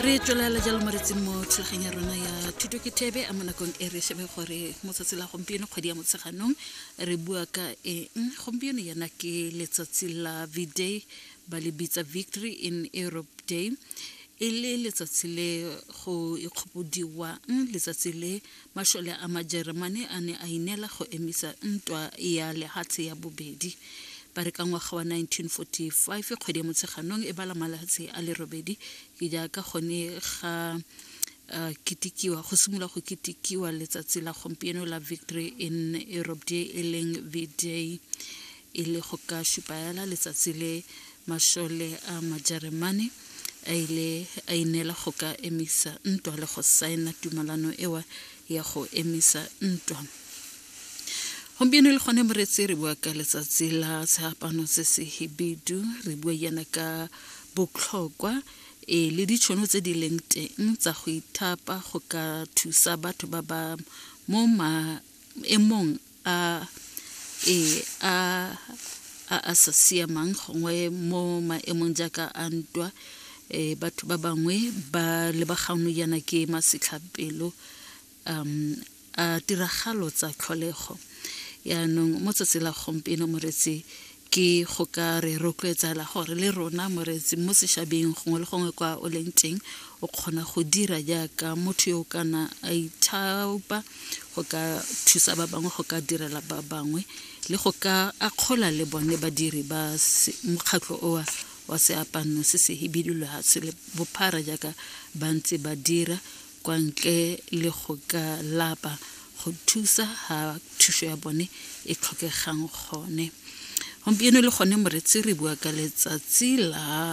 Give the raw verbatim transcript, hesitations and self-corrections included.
Re tswelela jalo, moretsi, mo thulaganyo ya rona ya Thuto ke Thebe. A mo nakong e re shebe gore mo tsatsi la gompieno, kgwedi ya Motsheganong, re bua ka eng gompieno. Yana ke letsatsi la V-Day, ba le bitsa Victory in Europe Day, e le letsatsi le go ikgopodiwang letsatsi le mašole a Majeremane a ne a ineela go emisa Ntwa ya Lehatshe ya Bobedi. Ba re ka ngwaga wa nineteen forty-five, kgwedi ya Motsheganong e bala malatsi a le robedi, ke jaaka gone ga uh, ketekiwa, go simolola go ketekiwa letsatsi la gompieno la Victory in Europe Day, e leng V-Day, e le go ka supaela letsatsi le mašole a Majeremane a ile a ineela go ka emisa ntwa le go saena tumalano ewa ya go emisa ntwa. Gompieno le gone, moretsi, re bua ka letsatsi la Seapano se se Hibidu. Re bua yana ka botlhokwa e le ditšhono tse di leng teng tsa go ithapa go ka thusa batho ba ba mo maemong a e a a a sa siamang, gongwe mo maemong jaaka a ntwa. um batho ba bangwe ba lebagano yana ke masetlhapelo um a tiragalo tsa tlholego. Yaanong mo tsatsi la gompieno, moretsi, ke go ka re rotloetsala gore le rona, moretsi, mo sešabeng, gongwe le gongwe kwa o leng teng, o kgona go dira jaaka motho yo o kana a ithaopa go ka thusa ba bangwe, go ka direla ba bangwe le go ka akgola le bone badiri ba mokgatlho oa wa Seapano se se Hibidu lehatshe le bophara, jaaka ba ntse ba dira kwa ntle le go ka lapa go thusa ha thuso ya bone e tlhokegang gone. Gompieno le gone, moretsi, re bua ka letsatsi la